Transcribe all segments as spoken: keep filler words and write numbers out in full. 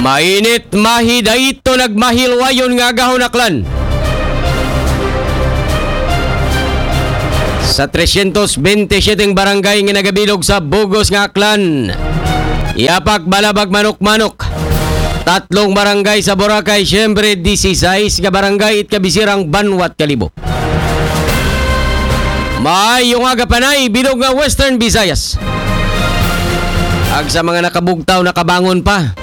Mainit, mahidayto, nagmahilwayon nga agahon, Aklan. Sa tresyentos bente siyete barangay nga nagabilog sa bugos nga Aklan, Yapak, Balabag, Manok-Manok, tatlong barangay sa Boracay, siyempre, disisais nga barangay it kabisirang Banwat Kalibo. Maayong aga, Panay, bilog nga Western Visayas. Ag sa mga nakabugtaw, nakabangon pa,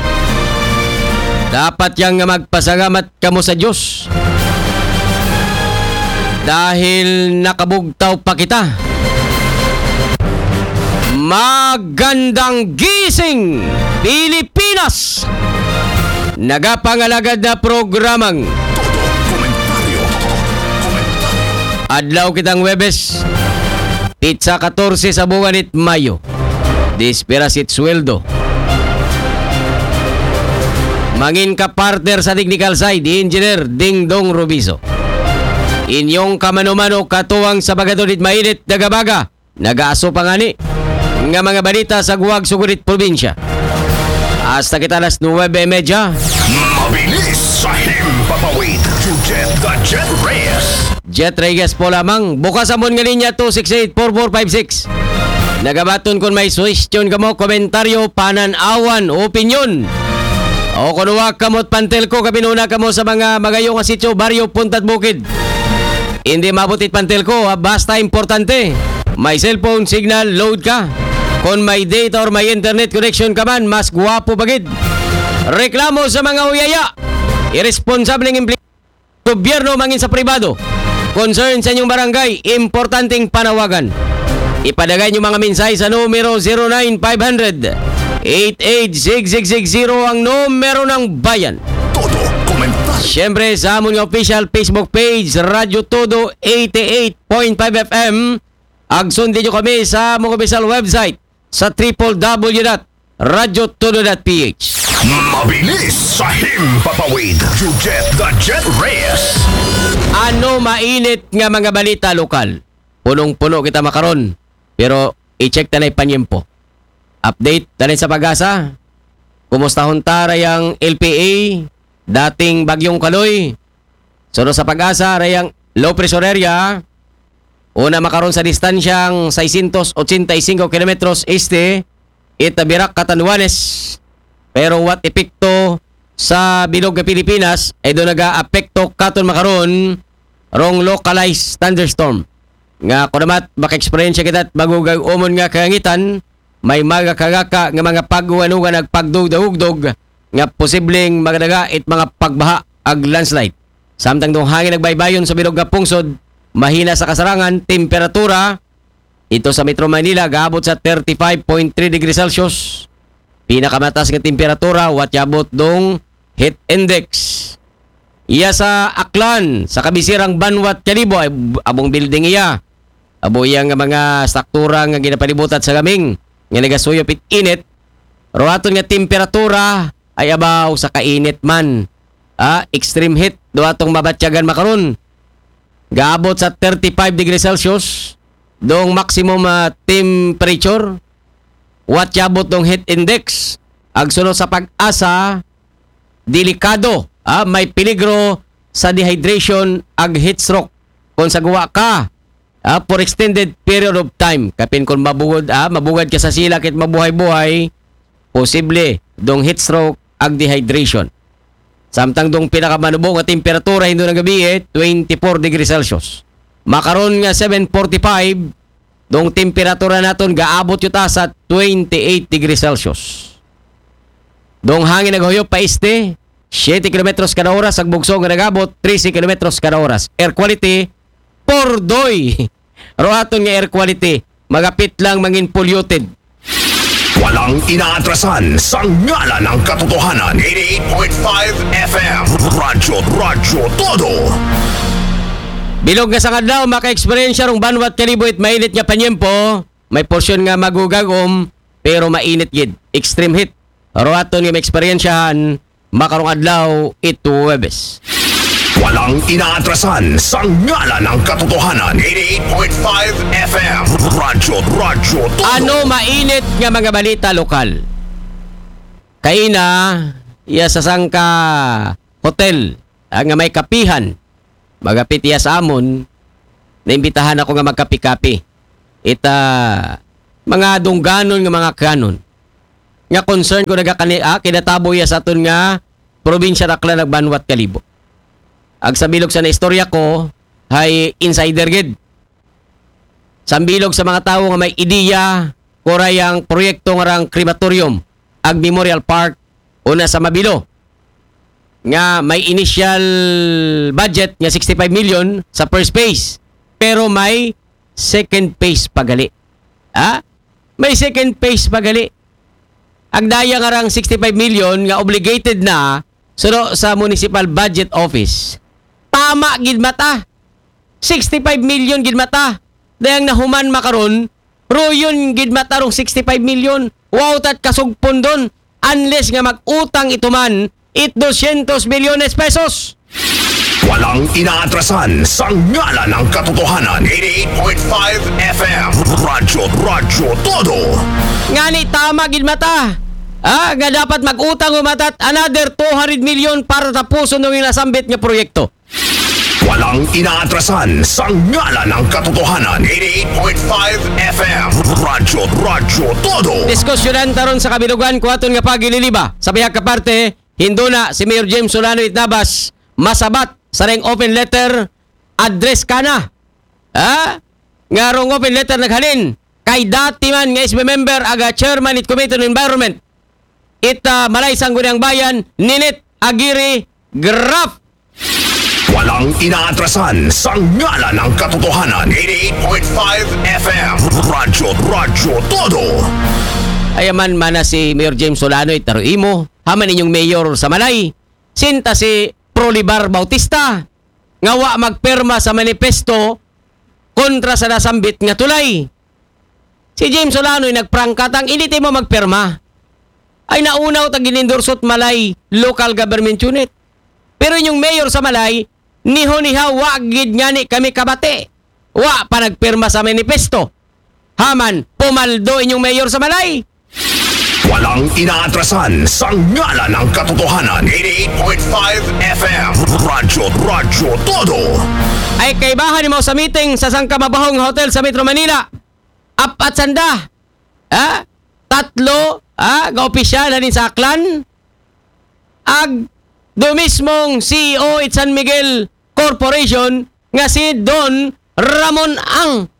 dapat yang nga magpasalamat kamo sa Diyos. Dahil nakabugtaw pa kita. Magandang gising, Pilipinas! Nagapangalagad na programang Todo Komentaryo. Komentaryo. Adlaw kitang Webes, pitsa katorse sa buwan it Mayo. Dispira sit sweldo. Mangin ka partner sa technical side, Engineer Dingdong Rubiso. Inyong kamano-mano katuwang sa bagadon it mainit, nagabaga, nagaaso pa ngani nga mga balita sa guwag sugod it probinsya. Hasta kita alas nuwebe y medya. Mabilis sa himpapawid, Jujet the Jet Reyes. Jet Reyes po lamang. Bukas amon nga linya, two six eight, four four five six. Nagabaton kon may suhestyon kamo, komentaryo, panan-awan, opinyon. O kon wa kamo it pantelko, kapin una kamo sa mga magayo nga sityo, baryo, puntad bukid. Hindi maabot it pantelko, ha? Basta importante, may cellphone signal, load ka. Kon may data or may internet connection ka man, mas guwapo pa gid. Reklamo sa mga uyaya, irresponsableng empleado, gobyerno, mangin sa pribado. Concern sa inyong barangay, importanteng panawagan. Ipadagay inyong mga mensahe sa numero zero nine five hundred, eight eight six six six zero, ang numero ng bayan. Todo komentaryo. Siyempre, sa amon nga official Facebook page, Radyo Todo eighty-eight point five F M. Ag sundin nyo kami sa among official website sa triple W dot radyo todo dot P H. Mabilis sa himpapawid, Jujet the Jet Reyes. Ano mainit nga mga balita lokal? Punong-puno kita makaron, pero i-check ta na it panyempo. Update dalin sa PAGASA. Kumustahon ta rayang L P A, dating Bagyong Kaloy. Sunod sa PAGASA, rayang low pressure area, una makaron sa distansyang seiscientos ochenta y cinco kilometros este, it Virac, Catanduanes. Pero what epekto sa bilog nga Pilipinas, ay do nagaapekto katon makaron rong localized thunderstorm. Nga kunamat, maka-eksperyensya kita it magugag-umon nga kalangitan, may mga kagaka nga mga pag-uwan-uwan ag pagdugdog-ugdog nga posibleng magdaga it mga pagbaha ag landslide. Samtang dong hangin nagbaybayon sa bilog nga pungsod, mahina sa kasarangan, temperatura ito sa Metro Manila gaabot sa thirty-five point three degrees Celsius. Pinakamataas nga temperatura, wa tiabot dong heat index. Iya sa Aklan, sa kabisirang Banwat Kalibo, ay ab-, abong building iya. Abo iya nga mga struktura nga ginapalibutan sa gaming, nga nagasuyop it init. Ruhaton nga temperatura ay abaw sa kainit man. Ah, extreme heat, do atong mabatyagan makaron. Gaabot sa thirty-five degrees Celsius, dong maximum, ah, temperature, wa tiabot dong heat index. Ag sunod sa PAGASA, delikado, ah, may peligro sa dehydration ag heat stroke. Kung sa guwa ka, ah, for extended period of time, kapin kung mabugod, ah, mabugad ka sa silak it mabuhay-buhay, posible dong heat stroke ag dehydration. Samtang dong pinakamanubong nga temperatura hindo nga gabii, eh, twenty-four degrees Celsius. Makaron nga seven forty-five, dong temperatura naton gaabot yuta sa twenty-eight degrees Celsius. Dong hangin naghuyop pa este, siyete kilometros kada oras, ag bugso nga nagabot, trese kilometros kada oras. Air quality, pordoy. Ruhaton nga air quality, magapit lang mangin polluted. Walang inaatrasan sa ngalan ng katotohanan. Eighty-eight point five F M. Radyo, Radyo Todo. Bilog nga sangadlaw, maka-eksperyensya rong Banwat Kalibo it mainit nga panyempo. May porsyon nga magugagom, pero mainit gid. Extreme heat. Ruhaton nga maeksperiensyahan, makarong adlaw it Huwebes. Walang inaatrasan sa ngalan ng katotohanan. Eighty-eight point five F M. Radyo, Radyo Todo. Ano mainit nga mga balita lokal? Kaina, iya sa sangka hotel, ah, nga may kapihan, magapit iya sa amon, naimbitahan ako nga magkapi-kapi. Ita, mga dungganon nga mga kanon. Nga concern ko nagakani, ah, kinatabo iya sa aton nga probinsya Aklan ug Banwat Kalibo. Ag sa bilog sa naistorya ko, hay insider gid. Sa bilog sa mga tawo nga may ideya, kuray ang proyekto nga rang crematorium, ag Memorial Park, una sa Mabilo, nga may initial budget nga sixty-five million sa first phase, pero may second phase pa gali. Ha? May second phase pa gali. Ang daya nga rang sixty-five million nga obligated na suno sa Municipal Budget Office. Tama gid mata. Sixty-five million gid mata. Dayang nahuman makaron, ruyon gid mata rong sixty-five million. Wow, tat kasugpon don. Unless nga mag-utang ito man, it dosyentos milyones pesos. Walang inaatrasan sa ngalan ng katotohanan. Eighty-eight point five F M. Radyo, Radyo Todo. Ngani tama gid mata. Ah, nga dapat mag-utang o matat another two hundred million para tapuson ng nasambit nga proyekto. Walang inaatrasan sa ngalan ng katotohanan. Eighty-eight point five F M. Radyo, Radyo Todo. Diskusyonan taron sa kabilugan ko aton nga pagililiba. Sa bihag ka parte, hinduna si Mayor James Solano Itnabas, masabat sa reng open letter, address kana. Ha? Nga rong open letter naghalin kay dati man nga S B member aga chairman it Committee on Environment. It, ah, Malay Sangguniang Bayan, Ninit Aguirre Graf. Walang inaatrasan sa ngalan ng katotohanan. Eighty-eight point five F M. Radyo, Radyo Todo. Ayaman mana si Mayor James Solano, itaro imo. Haman inyong mayor sa Malay. Sinta si Prolibar Bautista. Nga wa magperma sa manifesto kontra sa nasambit nga tulay. Si James Solano ay nagprangkatang, "Hindi mo magperma." Ay naunaw tag ginindorsot Malay local government unit. Pero inyong mayor sa Malay, niho-niha wa gid ngani kami kabati. Wa pa nagperma sa manifesto. Haman, pumaldo inyong mayor sa Malay. Walang inaatrasan sa ngalan ng katotohanan. Eighty-eight point five F M. Radyo, Radyo Todo. Ay kaibahan ni mo sa meeting sa sangka mabahong hotel sa Metro Manila. Apat sanda. Ha? Tatlo, ha? Ga opisyal na din sa Aklan. Ag do mismong C E O it San Miguel Corporation nga si Don Ramon Ang.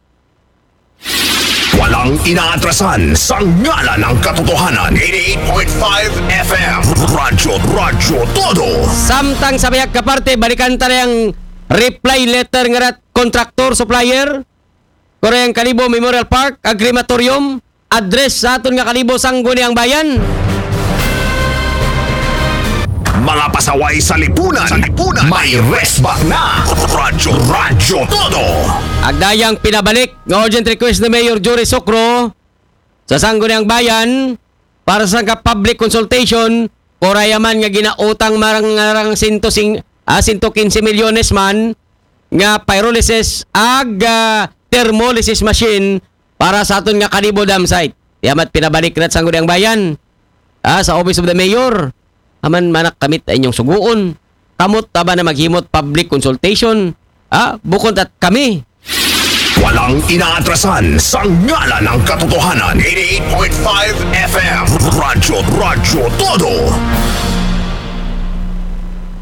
Walang inaatrasan sa ngalan ng katotohanan. Eighty-eight point five F M. Radyo, Radyo Todo. Samtang sa bihag ka parte, balikan ta ang reply letter nga rat contractor, supplier, Koreang Kalibo Memorial Park, ag crematorium, address sa aton nga Kalibo, Sangguniang Bayan. Mga pasaway sa lipunan, sa lipunan, may resback na. Radyo, Radyo Todo. Agdayang pinabalik nga urgent request ni Mayor Jory Socro sa Sangguniang Bayan para sa ka public consultation, kurayaman nga ginautang marang, marang sinto sing, ah, sinto kinse milyones man nga pyrolysis ag, ah, thermolysis machine para sa aton nga Kalibo dam site. Yamat pinabalik na sa Sangguniang Bayan, ah, sa Office of the Mayor. Aman manak kamit ay inyong suguon. Kamot taba na maghimot public consultation. Ah, bukon tat kami. Walang inaatrasan sa ngalan ng katotohanan. Eighty-eight point five F M. Radyo, Radyo Todo.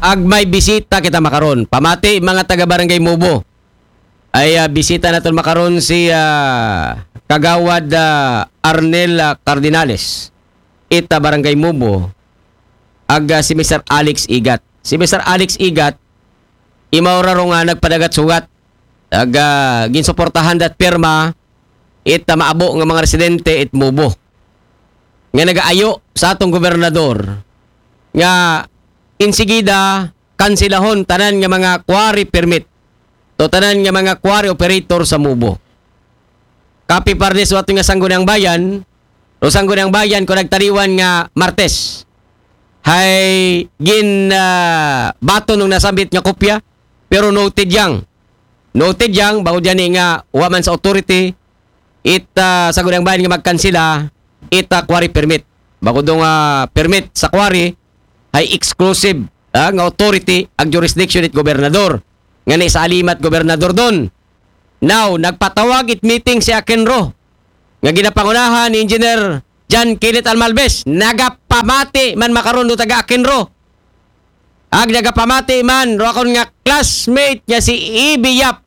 Ag may bisita kita makaron. Pamati mga taga Barangay Mubo. Ay, ah, bisita naton makaron si, ah, Kagawad, ah, Arnel, ah, Cardinales. Ita Barangay Mubo. Ag, ah, si Mister Alex Igat. Si Mister Alex Igat, imaw ra ro nga nagpadagat sugat. Ag, ah, ginsuportahan dat pirma it, ah, maabo nga mga residente it Mubo. Nga nagaayo sa atong gobernador nga insigida kansilahon tanan nga mga quarry permit to tanan nga mga quarry operator sa Mubo. Kapi pardes wa nga Sangguniang Bayan, o Sangguniang Bayan ko nagtaliwan nga Martes. Hay gin, ah, bato nung nasambit nga kopya, pero noted yang. Noted yang, bako dyan nga wa man sa authority, it, ah, Sangguniang Bayan nga magkansila, it, ah, quarry permit. Bako dong, ah, permit sa quarry, hay exclusive, ah, nga authority ag jurisdiction it gobernador. Nga ni sa alimat gobernador don. Now, nagpatawag it meeting si Akenro. Nga ginapangunahan ni Engineer John Kenneth Almalbes. Nagapamati man makaron do taga Akenro. Ag nagapamati man, ro akon nga classmate nga si Ibi Yap.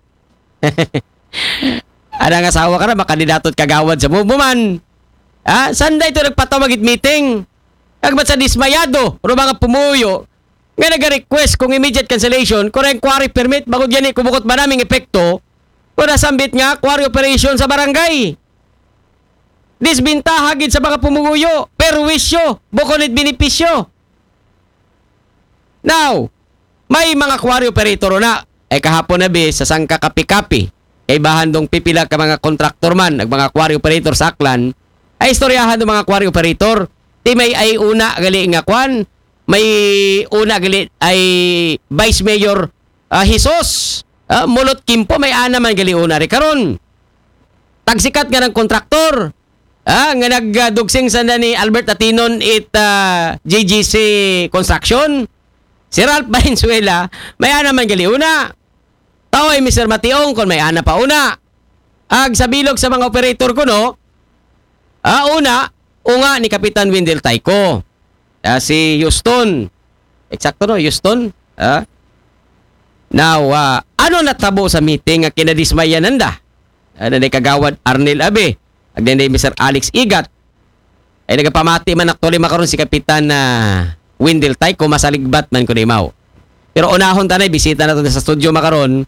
Ana nga asawa ka na, makandidato it kagawad sa Mubo man. Ha? Sanday to nagpatawag it meeting. Agbat sa dismayado, ro mga pumuyo, nga nag-request kung immediate cancellation, kung ang quarry permit, bangod gani kumukot ba naming epekto, kung nasambit nga quarry operation sa barangay. Disbintaha gid sa mga pumuyo, perwisyo, bukon it benepisyo. Now, may mga quarry operator na. Ay kahapon na bi sa sangka kapi-kapi. Kay bahan dong pipila ka mga kontraktor man, ag mga quarry operator sa Aklan, ay istoryahan dong mga quarry operator. Ti may ay una gali nga kwan, may una gali ay Vice Mayor, ah, Jesus, ah, Mulot Kimpo, may ana man gali una ri karon. Tagsikat nga ng kontraktor, ah, nga nagdugsing sanda ni Albert Atinon it, ah, G G C Construction. Si Ralph Valenzuela, may ana man gali una. Taoy Mister Mationg, kon may ana pa una. Ag sa bilog sa mga operator kuno, ah, una, unga ni Kapitan Windel Tayco. Ah, si Houston. Eksakto, no? Houston. Ah? Now, ah, ano natabo sa meeting nga kinadismayan nanda? Ano ni Kagawad Arnel Abe? Ag ni Mister Alex Igat? Ay nagapamati man actually makaron si Kapitan, ah, Windel Tayco, masaligbat man kuno imaw. Pero unahon ta na, bisita naton sa studio makaron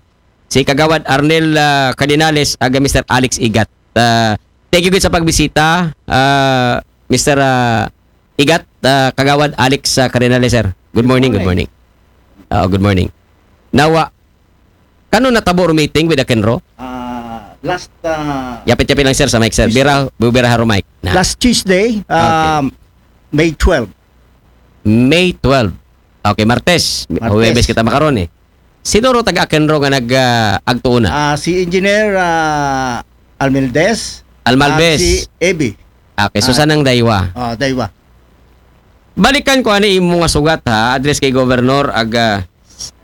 si Kagawad Arnel, ah, Cardinales ag Mister Alex Igat. Ah, thank you gid sa pagbisita, ah, Mister, ah, Igat, ah, Kagawad Alex, ah, Cardinales, sir. Good morning, good morning. Oo, good morning. Nawa, kano natabo ro meeting with Akenro? Ah, last, ah, Yapit-yapit lang, sir, sa mic, sir. Bira, bubira haro mic. Na. Last Tuesday, Okay. um, May twelve. May twelve. Okay, Martes. Martes. Huwebes kita makaron eh. Sino ro taga Akenro nga nag, ah, agtuo na? Ah, si Engineer, ah, Almaldez. Almalbes. At si Ebi. Okay, so Ah. sanang daywa. Oh, daywa. Balikan ko ani imo nga sugat ha, address kay Governor ag, ah,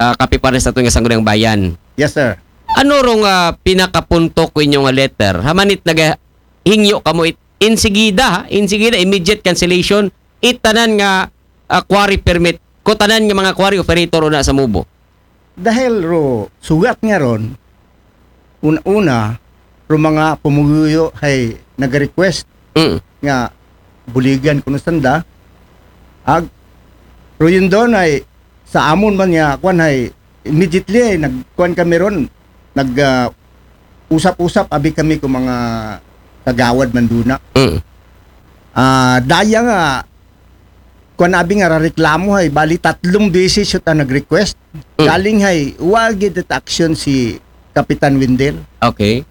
ah, kapipares nato nga Sangguniang Bayan. Yes, sir. Ano ro nga pinakapunto ko inyo nga letter? Hamanit nagahingyo kamo it, insigida, ha? Insigida, immediate cancellation, it tanan nga, ah, quarry permit, ko tanan nga mga quarry operator una sa Mubo. Dahil ro sugat nga ron, una-una, ro mga pumuguyo hay nag-request Mm. nga buligan kuno sanda. Ag, ro yun doon ay sa amon man nga, kwan hay, immediately ay nagkuan kami ron, nag, ah, usap-usap, abi kami kung mga kagawad man duna. Mm. Ah, daya nga, kwan abi nga rareklamo hay, bali tatlong beses yun ang nag-request. Mm. Galing hay, wa gid it action si Kapitan Windel. Okay.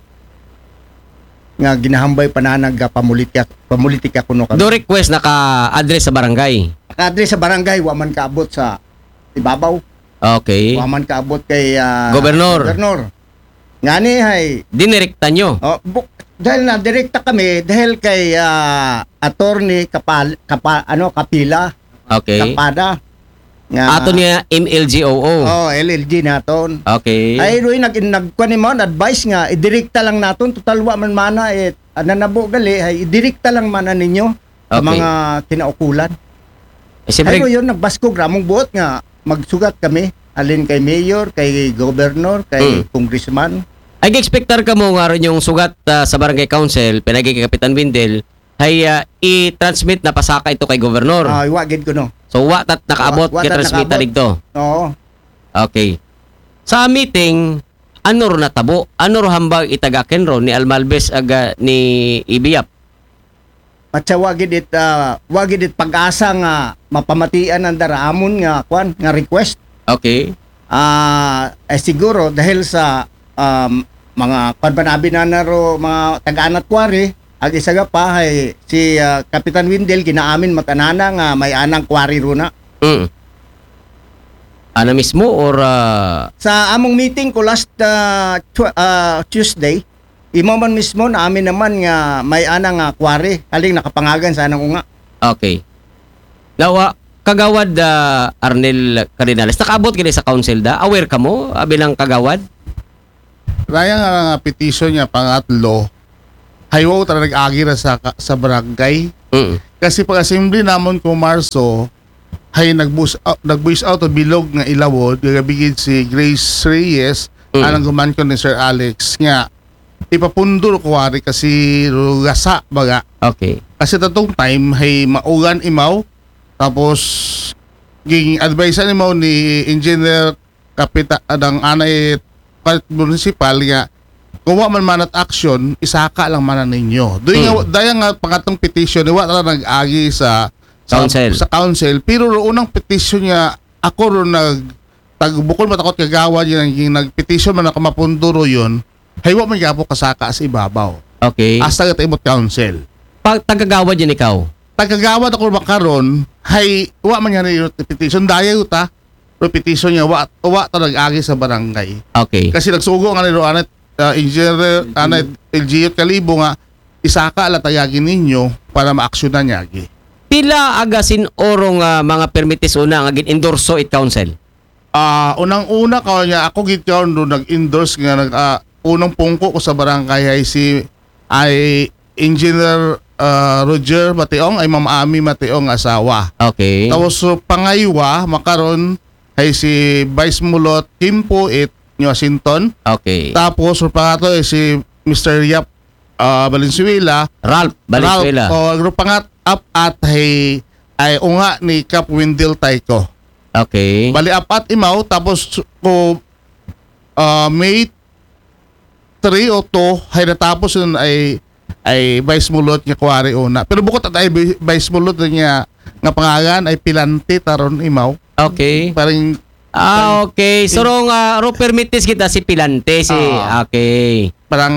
Nga ginahambay pananag nga pamulitika, pamulitika kuno kami. Do request naka-address sa barangay? Naka-address sa barangay, wa man kaabot sa ibabaw. Okay. Wa man kaabot kay, ah, Gobernor. Gobernor. Ngani hay. Dinirekta nyo? Oh, bu-, dahil na direkta kami, dahil kay, ah, Attorney Kapal-, Kapa-, ano, Kapila. Okay. Kapada. Nga Aton nga M L G O O. Oh, L L G naton. Okay. Ay, Roy, nag-, nagkuan ni mo, advice nga, idirekta lang naton, total wa man mana, eh, nanabo gali, ay, idirekta lang mana ninyo sa Okay. mga kinaukulan. Eh, siyempre Ay, yun, nagbaskog ramong buot nga, magsugat kami, alin kay mayor, kay governor, kay Hmm. congressman. Ay, expectar ka mo nga ron yung sugat, ah, sa barangay council, pinagi kay Kapitan Windel, hay, ah, i-transmit na pasaka ito kay gobernador. Ah, wa gid kuno. So, wa tat nakaabot, Wa, wa tat transmit nakaabot. Dito. Oo. Okay. Sa meeting, ano ro natabo? Ano ro hambag itaga Kenro ni Almalbes aga ni Ibiyap? Matsa wa gid it, ah, wa gid it pag-asa nga mapamatian ang dara amon nga, kwan, nga request. Okay. Ah, eh, siguro dahil sa, um, mga kwan ba nabi na naro, mga taga-anat quarry, ag isa ga pa, hay si, ah, Kapitan Windel, ginaamin matanana nga may anang quarry runa. Mm. Ana mismo or, ah, Sa among meeting ko last, ah, tw-, ah, Tuesday, imo man mismo, naamin naman nga may anang, ah, quarry, aling nakapangagan sa anang unga. Okay. Nawa, Kagawad, ah, Arnel Cardinales, nakaabot gani sa council da? Aware kamo, ah, bilang kagawad? Raya nga nga petition niya pangatlo, haywaw ta nag-agi ra sa, sa barangay. Mm. Kasi pag-assembly namon ko Marso, hay nag-voice out, nag-voice out ang bilog nga ilawod, gagabigid si Grace Reyes, Mm. anang guman ko ni Sir Alex, nga ipapundor ko wari kasi rugasa baga. Okay. Kasi tatong time, hay maugan imaw, tapos ging advisean imaw ni Engineer Kapita, adang anay palit municipal nga, kung wa man manat action, isaka lang mana ninyo. Doon nga, Hmm. daya nga pangatong petition, wa tala nag-agi sa, sa Council. Sa council. Pero ro unang petition nga, ako ro nag, tag, bukod matakot kagawad yun, yung nag-petition man ako mapunduro yun, hay wa man gapo kasaka sa ibabaw. Okay. Hasta nga taimot council. Pag tagagawad yan ikaw? Tagagawad ako makaron, hay wa man nga yung petition, daya ta, pero petition niya, wa, wa ta nag-agi sa barangay. Okay. Kasi nagsugo nga ni Roanet, uh, Engineer Anet L G Kalibo nga, isaka la tagagi ninyo para maaksyonan niya agi. Pila aga sin orong, ah, mga permites una nga gin-endorso it council? Ah, unang-una ka niya, ako gid karon do nag-endorse nga nag, ah, unang pungko ko sa barangay ay si, ay Engineer, ah, Roger Mationg, ay Ma'am Ami Mationg asawa. Okay. Tapos so, pangaywa, makaron ay si Vice Mulot Kimpo it New Washington. Okay. Tapos so, pangatlo ay si Mister Yap, ah, Valenzuela. Ralph Valenzuela. Ralph, oh, grupo nga apat ay, ay unga ni Cap Wendell Taiko. Okay. Bali apat imaw, tapos ko, ah, May three o two, ay natapos yun ay, ay Vice Mulot nga kuwari una. Pero bukod at ay Vi-, Vice Mulot nga, nga pangalan ay Pilante taron imaw. Okay. Parang Ah, okay. So, rong, ah, ro permites kita si Pilante, si, Ah. okay. Parang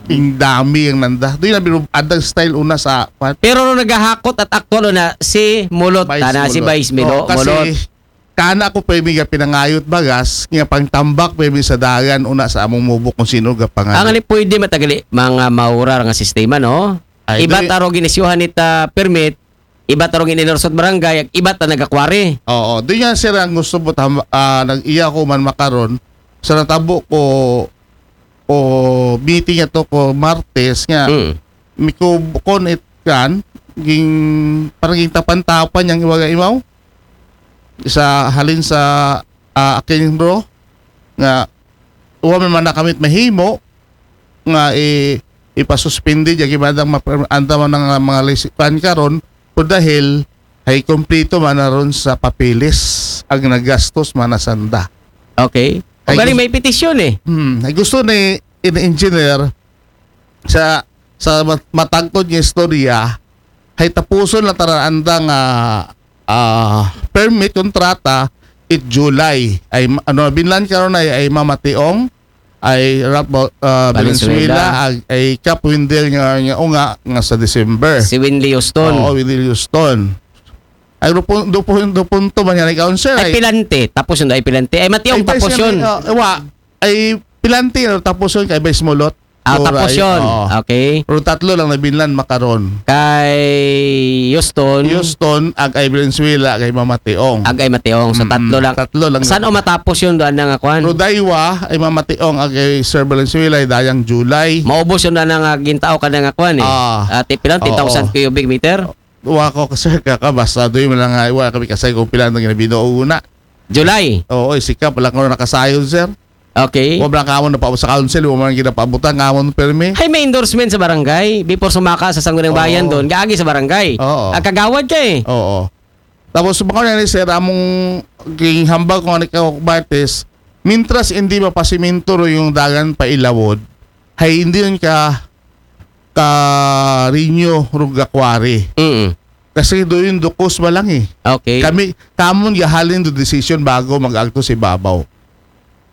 ingdami ang nanda. Doon na biro, adang style una sa, kwan. Pero ro nagahakot at aktual na si Mulot, Vice tana si Mulot. Vice Milo, Oh, kasi Mulot. kana ko pa yung pinangayot bagas, nga pangtambak pa yung sa dagan una sa among mubo kung sino ga pangalan. Ang ali pwede matagali, mga maura nga sistema, no? Ay, Iba doy- taro ginisyuhan nita permit, iba taro gininursot barangay, iba ta nagakwari. Oo, doon nga sir ang gusto mo tam, ah, nag-iya ko man makaron sa natabo ko o meeting ito ko Martes nga Mm. mikubkon it kan ging parang ging tapan-tapan yang iwaga imaw sa halin sa, ah, akin bro nga wa man man nakamit mahimo nga i ipasuspindi ya gimadang map- anda man ang mga lisipan karon po dahil ay kompleto man na ron sa papeles ang nagastos man na sanda. Okay. Ay, Galing gusto- may petisyon eh. Hmm, ay gusto ni in engineer sa sa mat- matagtod nga istorya ay tapuson lang tara anda nga ah, permit kontrata it July ay ma- ano binlan karon ay ay Mama Tiong ay Rap uh, Valenzuela. Valenzuela ag ay Cap Wendell nga, nga unga nga sa December. Si Winley Houston. Oo, Winley Houston. Ay do pun- do pun- do punto man yan ikaw sir Ay, ay Pilante. Tapos yun, ay Pilante. Ay, Mationg, ay, tapos Vice yun. Ganda, uh, wa, ay Pilante tapos yun kay Vice Mulot. Ah, Oray, tapos yun. Oo. Okay. Pero tatlo lang na binlan makaron. Kay Houston, Houston, ag ay Valenzuela, ag ay Mama Tiong. ag ay Mationg. So, Mm-mm. Tatlo lang. Tatlo lang. Saan o matapos yun doon nga kwan? Rodaywa, ay Mama Tiong, ag ay Sir Valenzuela, ay dayang July. Maubos yun na nga gintao ka na nga kwan eh. Ah. Ati pilang, Oo. ten thousand cubic meter? Wa ko, sir, kaka, basta doon mo lang nga, wa kami kasay kung pila na ginabinuo una. July. Oo, eh, sika pala ko nakasayod, sir. Okay. Wa lang kamon na pa sa council, wa man ginapabutan kamon permi. Hay, may endorsement sa barangay. Before sumaka sa Sangguniang Oo. Bayan doon, gaagi sa barangay. Oo. Ang kagawad ka eh. Oo. Tapos, baka na ni sir, among ging hambag ko nga ni Kawak Bartes, mintras hindi mapasiminto ro yung dagan pa ilawod, hay hindi yun ka ka rinyo rug gakwari. Mm. Kasi doon yung dukos ba lang eh. Okay. Kami, kamon gahalin do decision bago mag-agto si babaw.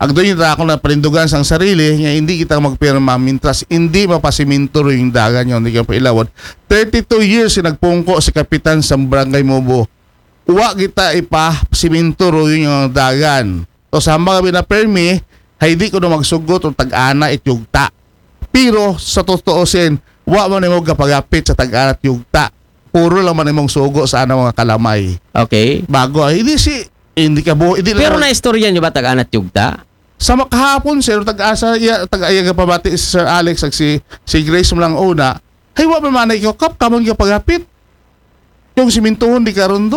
Agdo yung ako na panindugan sang sarili nga hindi kita magpirma mintras hindi mapasiminto ro yung dagan yung hindi ka pailawod. Thirty-two years yung nagpungko si kapitan sa barangay Mubo. Wa kita ipa siminto ro yung dagan. To sa mga binapermi, hay di ko na magsugot o tag-ana it yugta. Pero sa totoo sin, wa man nimo gapagapit sa tag-ana it yugta. puro lang man imong sugo sa anang mga kalamay. Okay. Bago ay, hindi si, hindi ka buo, hindi Pero lang- naistorya nyo ba tag-anat yugta? Sa makahapon, sir, tag-asa, iya, tag-aya nga pamati si Sir Alex ag si, si Grace mo lang una, hay wa pa man ikaw, kap, kamon ka paghapit. Yung simintuhon di karon